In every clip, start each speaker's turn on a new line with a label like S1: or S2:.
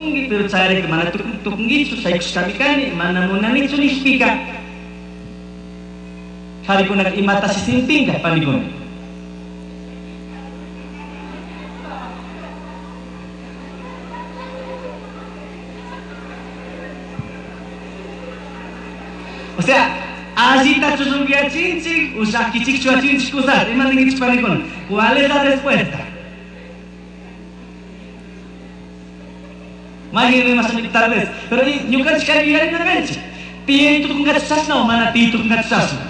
S1: Pero chayrayku mana tukunkichu, shaykushkami kani, mana munanichu nishpika, qharikunaka imatashi sintinka, panikuna? O sea, allitachu rugyachinchik o llakichikchu achinchik kusata, ima ninkichik panikuna? ¿Cuál es la respuesta? Mayqin rimashanchik tal vez, pero ñukanchik kay yuyarina kanchik. Tiyay tukunkachu chashna o mana tiyay tukunkachu chashna.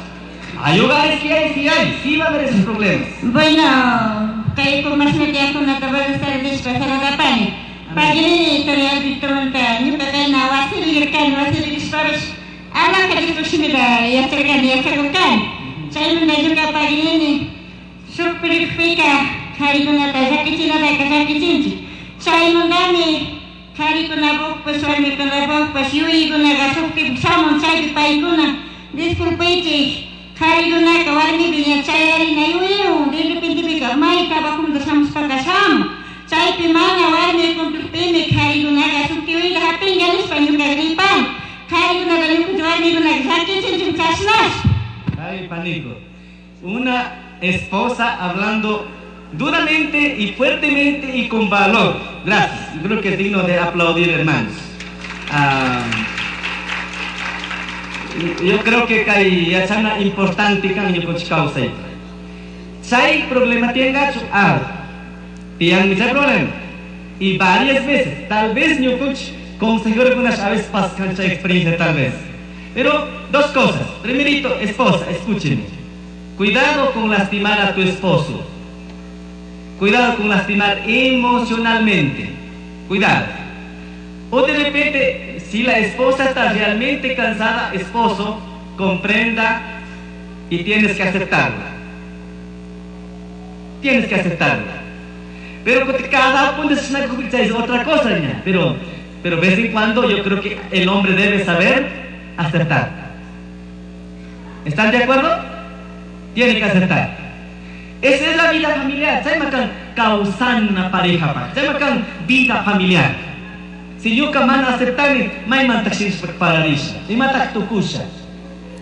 S1: Ayuga sí hay, sí hay, sí va a haber esos problemas.
S2: Bueno, kay kumasna tiyakunata buenas tardes saludapani. Pagini editorial Victormanta ñuka kayna wasipi rirkani, wasipi rishpapish alaka Diospaj shimita yacharkani, yachakurkani. Chaymanta ñuka paginini shuk pirikpika karikunata llakichinataka llakichinchik. Chaymantami karikunapukpash warmikunapukpash yuyaykunaka shuktipak shamun chaypi paykuna disculpaychik karikunaka warmipi ña chayarina yuyaywan de repentepika may trabajomanta shamushpaka shamun. Chaypi mana warmi cumplirpimi karikunaka shuk yuyayta hapinka nishpa ñuka ripani. Karikunata ñukanchik warmikunaka llakichinchik chashnash.
S1: Ay, panico. Una esposa hablando duramente y fuertemente y con valor. Gracias. Yo creo que es digno de aplaudir, hermanos. Yo creo que kay yachana importante kan ñukanchik kawsayta. Chay problema tiyangachu? Ah, tiyanmi chay problema. Y varias veces, tal vez ñukanchik consejerokunash a veces pasan chay experiencia tal vez. Pero dos cosas. Primerito, esposa, escúcheme. Cuidado con lastimar a tu esposo. Cuidado con lastimar emocionalmente. Cuidado. O de repente, si la esposa está realmente cansada, esposo, comprenda y tienes que aceptarla. Tienes que aceptarla. Pero cada uno es una cosa, es otra cosa, niña. Pero de vez en cuando yo creo que el hombre debe saber aceptar. ¿Están de acuerdo? Tiene que aceptar. Esa es la vida familiar. Chayma kan kawsana pareja pa. Chayma kan vida familiar. Si ñuka mana aceptani, maymantaq shinashpa pararisha. Imataq tukusha.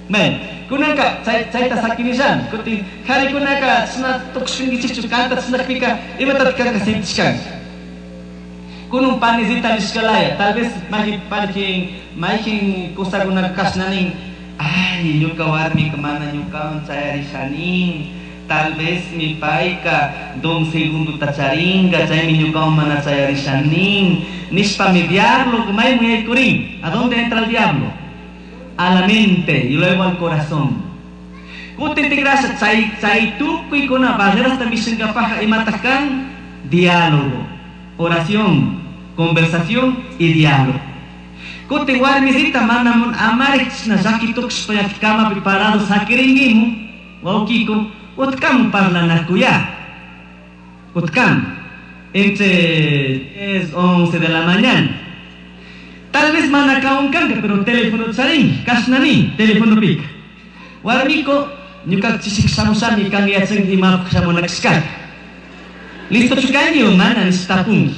S1: Men, kunanka chayta sakinillami. Kutin qharikunaka chashna tukushkankichikchu kanta chashnakpika imatataq kanka sintishkanki. Kunun panisita nishkalaya, tal vez mayqin mayqin mayqin kusakunaka kashnanin, ay ñuka warmika mana ñukawan chayarishanin. Tal vez mi payka don segundo charinga, chaymi ñukawan mana chayarishanin. Nishpa mi diablo maymun yaykurin. ¿A dónde entra el diablo? A la mente y luego al corazón. Kutin tigrasha chay chay tukuykuna barrerasta mishinkapaja imataq kan diálogo, oración, conversación y diálogo. Kutin warmisita mana mun amari chashna llaki tukushpa kamapi parado sakirinkimu, wawkiko, utkamu parlanakuya. Utkamu. Entre 10, 11 de la mañana. Tal vez mana kanka, pero teléfono charin, kashnani, teléfono pica. Warmiko, ñuka chishik shamushami kan yachanki imapaq shamunakashkaka. Listo chukanki o mana nishtapunki.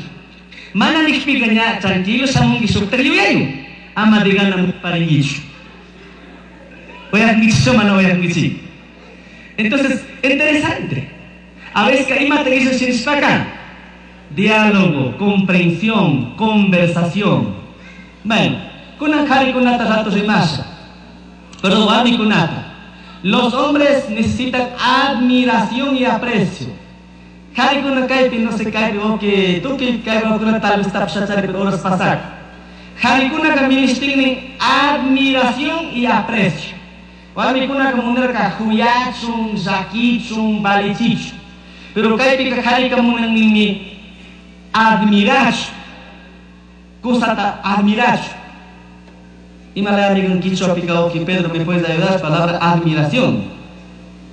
S1: Mana nikpika ña tranquilo shamunki shuktak yuyayu. Ama de gana parinkichu. Uyakunkichik mana uyakunkichik. Entonces, interesante. A veces imata hizo shinishpaka. Diálogo, comprensión, conversación. Bueno, kunan qharikunata rato rimasha. Pero warmikunata. Los hombres necesitan admiración y aprecio. Qharikuna kaypi no sé kaypi o que tukuy kaypi tal vez tapshachari pero horas pasak. Qharikunaka ministinmi admiración y aprecio. Warmikunaka munarka huyachun, llakichun, valichichun. Pero kaypika qharika munanninmi admirachu. Kusata admirachu. Imalaya amigo en quichua pika oki Pedro, ¿me puedes ayudar? Palabra admiración.